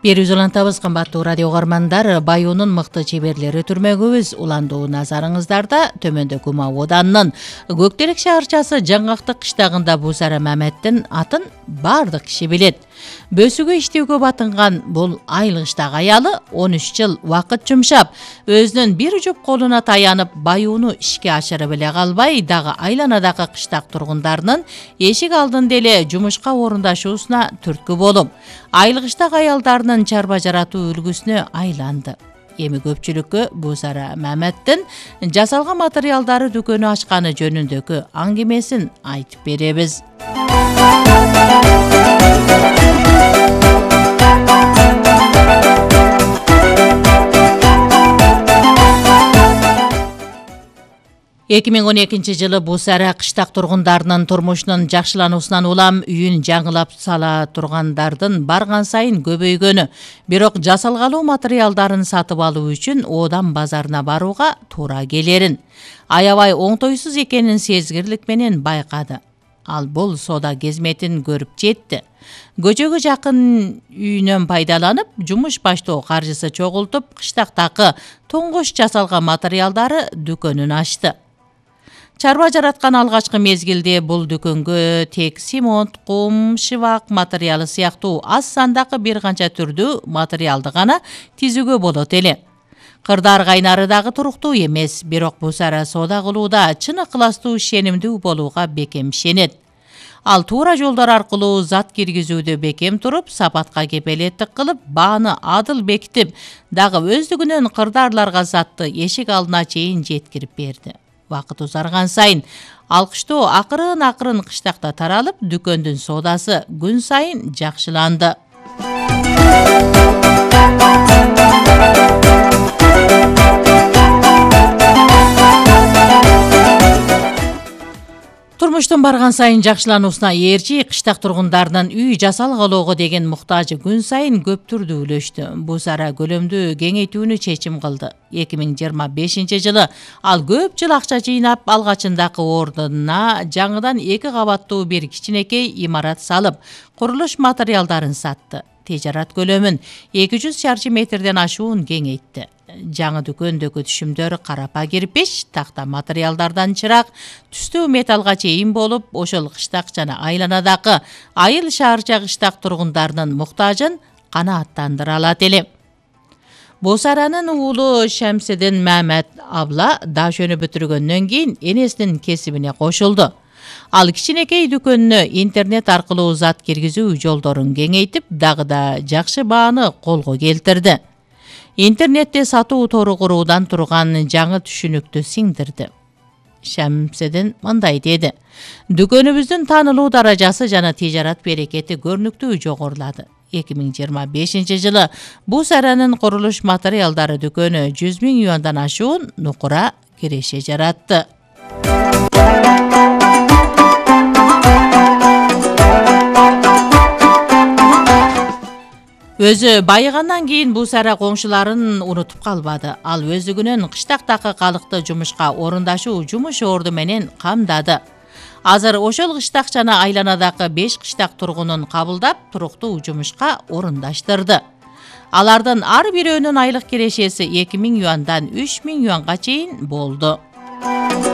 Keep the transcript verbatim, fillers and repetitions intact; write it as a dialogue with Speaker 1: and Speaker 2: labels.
Speaker 1: Берүүз улантабыз, кымбаттуу радио угармандар. Баюунун мыкты чеберлери түрмөгүбүз уландуу назарыңыздарда. Төмөндөгү Кумау оданынын Көктерек шаарчасы Жаңгактык кыштагында Бусара Маметтин атын баардык киши билет. Бөсүгө иштөөгө батынган бул айылгычтагы аялы он үч жыл убакыт жумшап, өзүнүн бир жуп колуна таянып, баюуну ишке ашырып эле калбай, дагы айланадагы кыштак тургундарынын эшик алдында эле жумушка орундашуусуна түрткү болуп, айылгычтагы аялдарынын чарба жаратуу үлгүсүнө айланды. Эми көпчүлүккө Бусара Маметтин жасалган материалдары дүкөнү ачканы жөнүндөгү аңгемесин айтып беребиз. эки миң он экинчи жылы Бусара кыштак тургундарынын турмушунун жакшылануусунан улам үйүн жаңылап сала тургандардын барган сайын көбөйгөнү, бирок жасалгалуу материалдарын сатып алуу үчүн Одан базарына барууга туура келерин, аябай оңтойсуз экенин сезгирлик менен байкады. Ал бул соода кезметин көрүп жетти. Көчөгө жакын үйүнөн пайдаланып, жумуш баштоо каржысы чогултуп, кыштактагы тоңгош жасалган материалдары дүкөнүн ачты. Чарба жараткан алгачкы мезгилде бул дүкөнгө тек симонт, кум, шыбак материалы сыяктуу аз сандагы бир канча түрдүү материалды гана тизүүгө болот эле. Кырдар кайнары дагы туруктуу эмес, бирок Бусара соода кылууда чын ыкыластуу, ишенимдүү болууга бекем ишенет. Ал туура жолдор аркылуу зат киргизүүдө бекем туруп, сапатка кепелеттик кылып, бааны адыл бекитип, дагы өздүгүнөн кырдарларга затты эшик алдына чейин жеткирип берди. Вакыт узарган сайын алкыштоо акырын-акырын кыштакта таралып, дүкөндүн соодасы күн сайын жакшыланды. Турмуштун барган сайын жакшылануусуна ээрчи кыштак тургундарынын үй жасалгалоого деген муктажы күн сайын көптүрдүүлөштү. Бусара көлөмдү кеңейтүүнү чечим кылды. эки миң жыйырма бешинчи жылы ал көп жыл акча жыйнап, алгачындагы ордуна жаңыдан эки кабаттуу бир кичинекей имарат салып, курулуш материалдарын сатты. Тижарат көлөмүн эки жүз шарчы метрден ашуун кеңейтти. Жаңы дүкөндөгү түшүмдөр карапа кирпич, такта материалдардан чырак, түстүү металлга чейин болуп, ошол кыштак жана айланадагы айыл шаарча кыштак тургундарынын муктажын канааттандыра алат эле. Бусаранын уулу Шамсидин Мамет абла дашөнү бүтүргөндөн кийин энесинин кесибине кошулду. Ал кичинекей дүкөнүнө интернет аркылуу зат киргизүү жолдорун кеңейтип, дагы да жакшы бааны колго келтирди. Интернетте сатуу тору куруудан турган жаңы түшүнүктү сиңдирди. Шамсидин мындай деди: "Дүкөнүбүздүн таанылуу даражасы жана тижарат берекети көрүнүктүү жогорулады. эки миң жыйырма бешинчи жылы Бусаранын курулуш материалдары дүкөнү жүз миң юандан ашуун нукура киреше жаратты." Өзү байыгандан кийин Бусара коңшуларын унутуп калбады. Ал өздүгүнөн кыштактагы калыкты жумушка орундашуу жумуш орду менен камдады. Азыр ошол кыштак жана айланадагы беш кыштак тургунун кабылдап, туруктуу жумушка орундаштырды. Алардын ар бирөөнүн айлык кирешеси эки миң юандан үч миң юанга чейин болду.